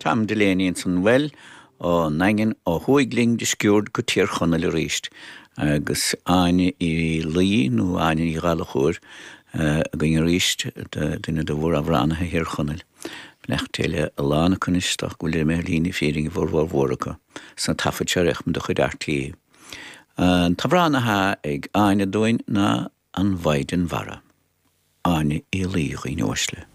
Tom Delaney ansan bhuel ón nDaingean ó thuaidh linn de sciuird go Tír Chonaill arís agus Áine Uí Laoi nó Áine Ní Ghallchóir againn arís, duine de mhóramhránaithe Thír Chonaill. Beannacht Dé le a lán acu anois, is dócha go bhfuil imithe ar shlí na fírinne a bhformhór mhór acu sna taifid seo ar de chuid RTÉ. An t-amhrán atá ag Áine dúinn ná An Mhaighdean Mhara. Áine Uí Laoi, a dhaoine uaisle.